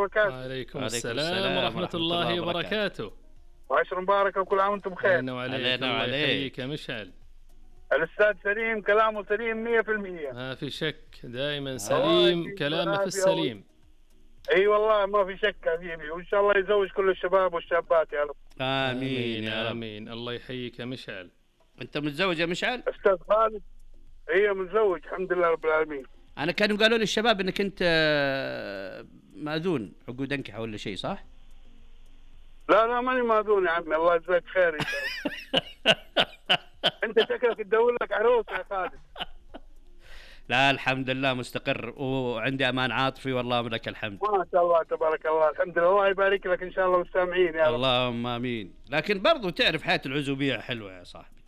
وبركاته. وعليكم السلام ورحمة الله وبركاته. وعشر مباركة وكل عام وانتم بخير. علينا وعليك. الله يحييك يا مشعل. الأستاذ سليم كلامه سليم 100%. ما في شك، دائما سليم كلامه في السليم. اي والله ما في شك حبيبي، وان شاء الله يزوج كل الشباب والشابات يا رب. آمين يا رب. آمين. الله يحييك يا مشعل. أنت متزوج يا مشعل؟ أستاذ خالد اي متزوج الحمد لله رب العالمين. أنا كانوا قالوا لي الشباب إنك أنت مأذون عقود أنكحة ولا شيء، صح؟ لا ماني مأذون يا عمي، الله يجزاك خير. انت شكلك تدور لك عروس يا خالد. لا الحمد لله مستقر وعندي أمان عاطفي والله لك الحمد. ما شاء الله تبارك الله، الحمد لله. الله يبارك لك إن شاء الله مستمعين يا رب. اللهم آمين. لكن برضو تعرف حياة العزوبية حلوة يا صاحبي.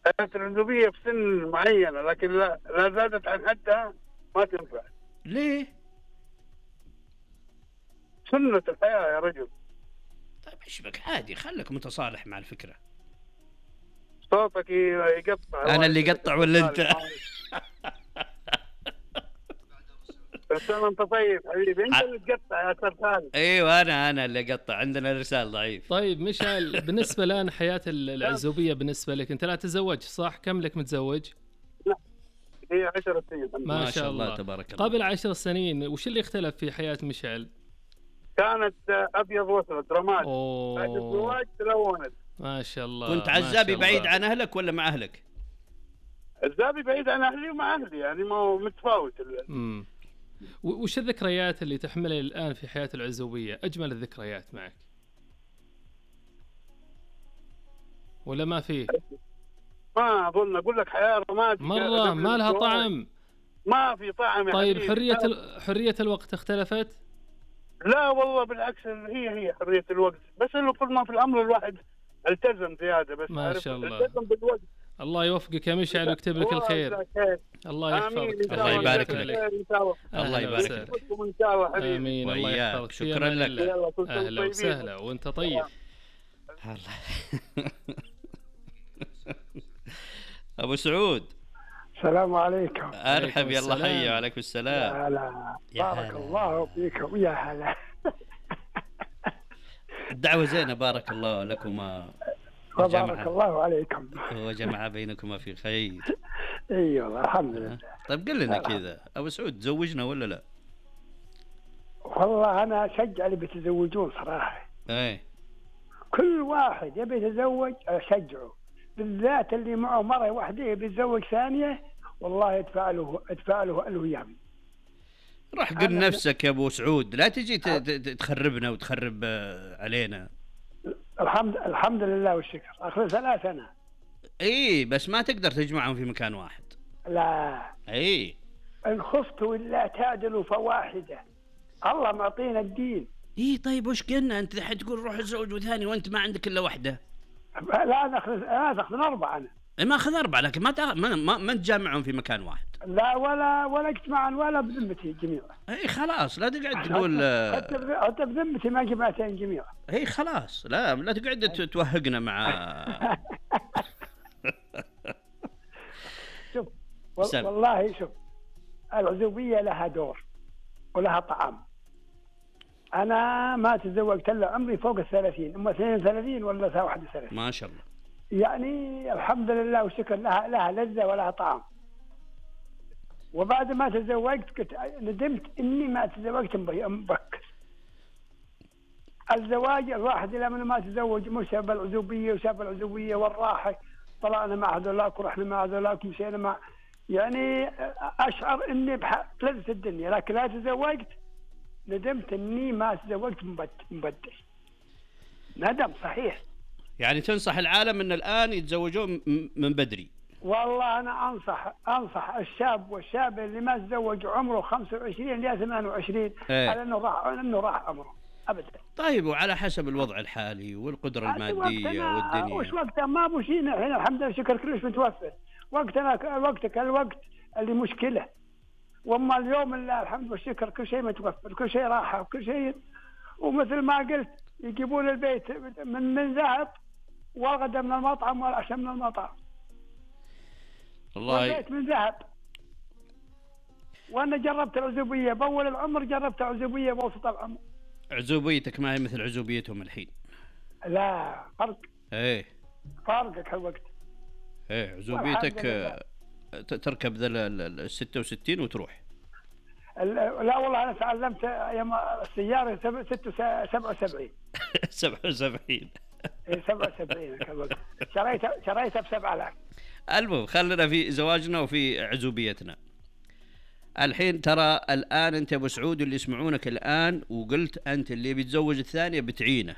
حياة العزوبية في سن معينة، لكن لا زادت عن حدها ما تنفع. ليه؟ سنة الحياة يا رجل. طيب ايش بك، عادي خلك متصالح مع الفكرة. صوتك يقطع. أنا اللي قطع ولا أنت؟ بس أنت طيب حبيبي، أنت اللي تقطع يا أستاذ خالد. أيوة أنا اللي قطع، عندنا رسالة ضعيف. طيب مشعل، بالنسبة الآن حياة العزوبية بالنسبة لك، أنت لا تتزوج صح؟ كم لك متزوج؟ لا هي 10 سنين. ما شاء الله تبارك الله. قبل 10 سنين وش اللي اختلف في حياة مشعل؟ كانت أبيض وأسود رماد. بعد الزواج تلونت. ما شاء الله. كنت عزابي بعيد عن أهلك ولا مع أهلك؟ عزابي بعيد عن أهلي ومع أهلي، يعني ما هو متفاوت. وش الذكريات اللي تحملها الآن في حياة العزوبية؟ أجمل الذكريات معك ولا ما فيه؟ ما أظن أقول لك حياة رماد مرة ما لها طعم. ما في طعم. طيب حرية الوقت اختلفت؟ لا والله بالعكس، هي حرية الوقت، بس إنه كل ما في الأمر الواحد التزم زيادة. بس ما شاء الله. التزم بالوقت. الله يوفقك يا مشعل ويكتب لك الخير. الله يحفظك. الله يبارك لك. الله يبارك لك. إن شاء الله حبيبي. آمين. الله يحفظك. شكرا لك. أهلا وسهلا وأنت طيب. أبو سعود السلام عليكم. أرحب يلا حي. وعليكم السلام. يا هلا بارك الله فيكم. يا هلا. الدعوة زينة بارك الله لكما وبارك الله عليكم وجمع بينكما في خير. اي والله الحمد لله. طيب قل لنا كذا أبو سعود، تزوجنا ولا لا؟ والله أنا أشجع اللي بيتزوجون صراحة. كل واحد يبي يتزوج أشجعه، بالذات اللي معه مرة واحدة يبي يتزوج ثانية، والله ادفع له الأيام. راح قل نفسك يا أبو سعود، لا تجي تخربنا وتخرب علينا. الحمد لله والشكر. آخر 3 سنة. بس ما تقدر تجمعهم في مكان واحد. لا. إن خفتوا إلا تعدلوا فواحدة. الله معطينا الدين. طيب وش قلنا أنت الحين تقول روح تزوج وثاني وأنت ما عندك إلا واحدة؟ لا أنا أخذ 4 أنا. ما أخذ 4 لكن ما تجمعهم في مكان واحد. لا ولا اجتماعا ولا بذمتي جميعا. خلاص لا تقعد تقول حتى بذمتي ما جمعتين جميعا. خلاص لا تقعد توهقنا مع. شوف والله شوف، العزوبية لها دور ولها طعام. أنا ما تزوجت إلا عمري فوق 30، أما 32 ولا 31. ما شاء الله. يعني الحمد لله والشكر، لها لذة ولها طعام. وبعد ما تزوجت ندمت إني ما تزوجت مبكر. الزواج الواحد لما ما تزوج مش سبب العزوبية والراحة، طلعنا مع هذولاك ورحنا مع هذولاك ومشينا مع، يعني أشعر إني بلذة الدنيا. لكن لا تزوجت ندمت إني ما تزوجت مبدل. ندم صحيح. يعني تنصح العالم إن الآن يتزوجون من بدري؟ والله أنا أنصح الشاب والشابة اللي ما تزوج عمره 25 ل 28 على إنه راح عمره أبدا. طيب وعلى حسب الوضع الحالي والقدرة المادية والدنيا. وش وقتها ما بوشينا هنا الحمد لله شكر كلش متوفر. وقتك الوقت اللي مشكلة، وأما اليوم اللي الحمد والشكر كل شيء متوفر، كل شيء راحة وكل شيء. ومثل ما قلت يجيبون البيت من ذهب، والغدا من المطعم والعشاء من المطعم. والله البيت من ذهب وانا جربت العزوبيه باول العمر، جربت العزوبيه بوسط العمر. عزوبيتك ما هي مثل عزوبيتهم الحين. لا فرق. ايه فارقك هالوقت. ايه عزوبيتك تركب ذا ال 66 وتروح. لا والله انا تعلمت ايام السياره 77. 77. 77 هالوقت. شريتها ب 7000. المهم خلينا في زواجنا وفي عزوبيتنا. الحين ترى الآن أنت أبو سعود اللي يسمعونك الآن وقلت أنت اللي بيتزوج الثانية بتعينه،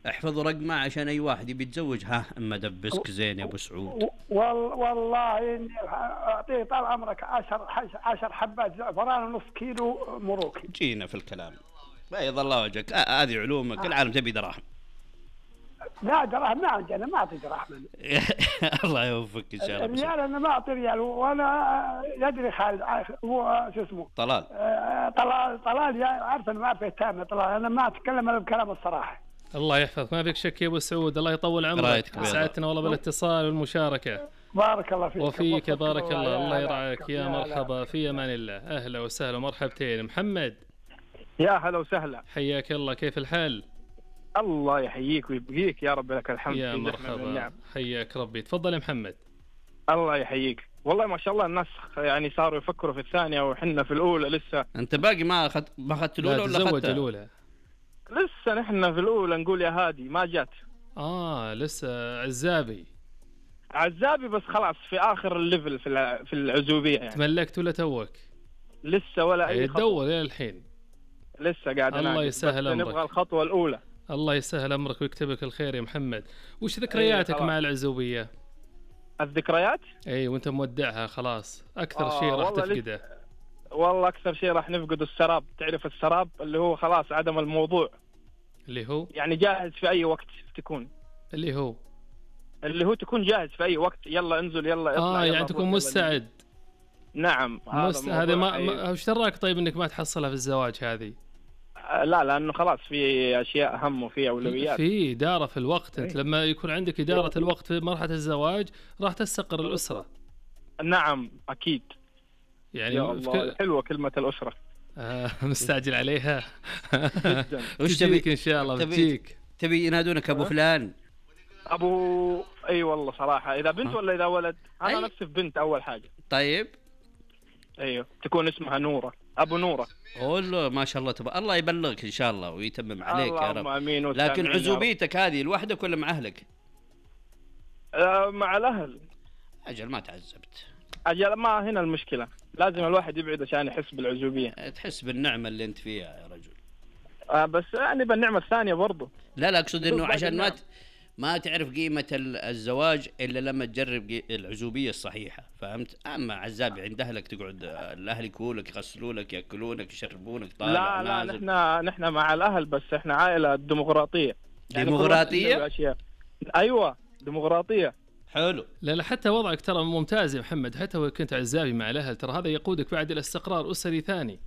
احفظوا رقمه عشان أي واحد يتزوج. ها أما دبسك زين يا أبو سعود. والله إني أعطيه طال عمرك 10 حبات زعفران ونص كيلو مروكي. جينا في الكلام بيض الله وجهك. هذه علومك العالم تبي دراهم. لا دراهم ما عندي، أنا ما أعطي دراهم. الله يوفقك إن شاء الله. الريال أنا ما أعطي ريال، وأنا يدري خالد هو شو اسمه طلال. طلال يا عارف أنا ما أعرف التامة طلال، أنا ما أتكلم أنا بكلام الصراحة. الله يحفظك، ما فيك شك يا ابو سعود، الله يطول عمرك. سعدتنا والله بالاتصال والمشاركه. بارك الله فيك. وفيك بارك الله. الله يرعاك. يا مرحبا، في امان الله. اهلا وسهلا ومرحبتين. محمد يا هلا وسهلا، حياك الله، كيف الحال؟ الله يحييك ويبقيك يا رب، لك الحمد. يا مرحبا، حياك ربي. تفضل يا محمد. الله يحييك. والله ما شاء الله الناس يعني صاروا يفكروا في الثانية وحنا في الأولى لسه. أنت باقي ما أخذت الأولى ولا أخذت الأولى؟ لسه نحن في الأولى نقول يا هادي ما جات. لسه عزابي بس خلاص في آخر الليفل في العزوبية يعني. تملكت ولا توك؟ لسه ولا أي خطوة. تدور إلى الحين. لسه قاعد الله يسهل أمرك. نبغى الخطوة الأولى. الله يسهل أمرك ويكتب لك الخير يا محمد. وش ذكرياتك مع العزوبية؟ الذكريات؟ أي وأنت مودعها خلاص. أكثر شيء راح تفقده. والله أكثر شيء راح نفقد السراب. تعرف السراب اللي هو خلاص عدم الموضوع. اللي هو يعني جاهز في أي وقت تكون. اللي هو تكون جاهز في أي وقت. يلا انزل يلا اطلع. يعني تكون مستعد. نعم. هذا ما وش دراك طيب انك ما تحصلها في الزواج هذه؟ لا لانه خلاص في اشياء اهم وفي اولويات. في اداره في الوقت. انت لما يكون عندك اداره الوقت في مرحله الزواج راح تستقر الاسره. نعم اكيد. يعني حلوه كلمه الاسره. مستعجل عليها. جدا. وش تبيك ان شاء الله بتجيك. تبي ينادونك ابو فلان؟ ابو اي والله صراحه اذا بنت ولا اذا ولد. انا نفسي في بنت اول حاجه. طيب ايوه تكون اسمها نوره. ابو نوره. والله ما شاء الله الله يبلغك ان شاء الله ويتمم عليك يا رب. امين. لكن عزوبيتك هذه لوحدك ولا مع اهلك؟ مع الاهل. اجل ما تعذبت. اجل ما هنا المشكله، لازم الواحد يبعد عشان يحس بالعزوبيه. تحس بالنعمه اللي انت فيها يا رجل. بس يعني بالنعمه الثانيه برضه. لا اقصد انه عشان ما تعرف قيمة الزواج إلا لما تجرب العزوبية الصحيحة، فهمت؟ أما عزابي عند أهلك تقعد الأهل يكولك يغسلونك يأكلونك يشربونك طالع نازل. لا نحن مع الأهل بس إحنا عائلة ديمقراطية. ديمقراطية؟ أيوة ديمقراطية. حلو. لا حتى وضعك ترى ممتاز يا محمد، حتى لو كنت عزابي مع الأهل ترى هذا يقودك بعد إلى استقرار أسري ثاني.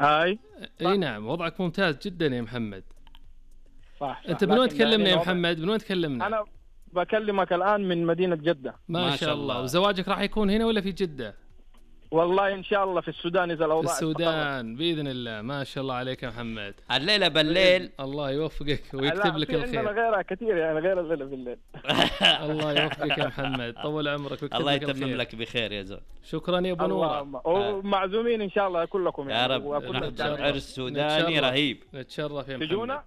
أي نعم وضعك ممتاز جدا يا محمد. صح. انت من وين تكلمنا يا محمد؟ من وين تكلمنا؟ انا بكلمك الان من مدينه جده. ما شاء الله. وزواجك راح يكون هنا ولا في جده؟ والله ان شاء الله في السودان اذا الاوضاع في السودان باذن الله. ما شاء الله عليك يا محمد. الليله بالليل. الله يوفقك ويكتب لك الخير. لا غيرها كثير يعني غير الليله بالليل. الله يوفقك يا محمد، طول عمرك ويكتب الله لك الخير. الله يتمم لك بخير يا زول. شكرا يا ابو نوره. ومعزومين ان شاء الله كلكم يا رب. عرس سوداني رهيب. نتشرف يا محمد. تجونا؟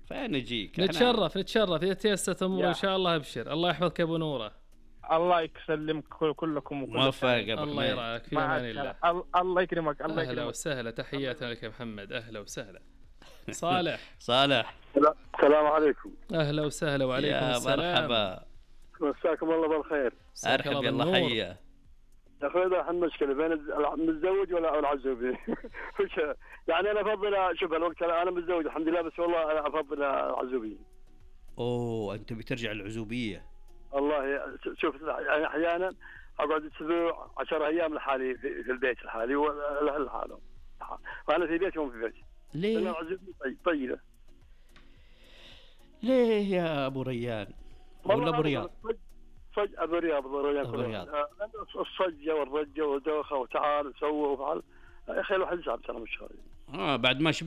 فين نجيك؟ نتشرف إذا تيسرت أمور إن شاء الله. أبشر. الله يحفظك يا أبو نورة. الله يسلمك كلكم موفق. الله يرعاك في أمان الله. الله يكرمك. الله يكرمك. أهلا وسهلا، تحياتنا لك يا محمد. أهلا وسهلا. صالح. السلام عليكم. أهلا وسهلا. وعليكم السلام. يا مرحبا. مساكم الله بالخير. أرحب يلا حيا. يا اخوي اذا المشكله بين المتزوج ولا العزوبي. يعني انا افضل شوف الوقت انا متزوج الحمد لله بس والله انا افضل العزوبيه. انت بترجع العزوبيه؟ والله شوف يعني احيانا اقعد اسبوع 10 ايام لحالي في البيت لحالي والاهل لحالهم، وانا في بيتي وهم في بيتي. ليه؟ العزوبيه طيبه. ليه يا ابو ريان؟ ولا ابو رياض؟ الصج ابو رياض الصجه والرجه ودوخه وتعال وسوى وفعل. يا اخي الواحد يصعب ترى مش بعد ما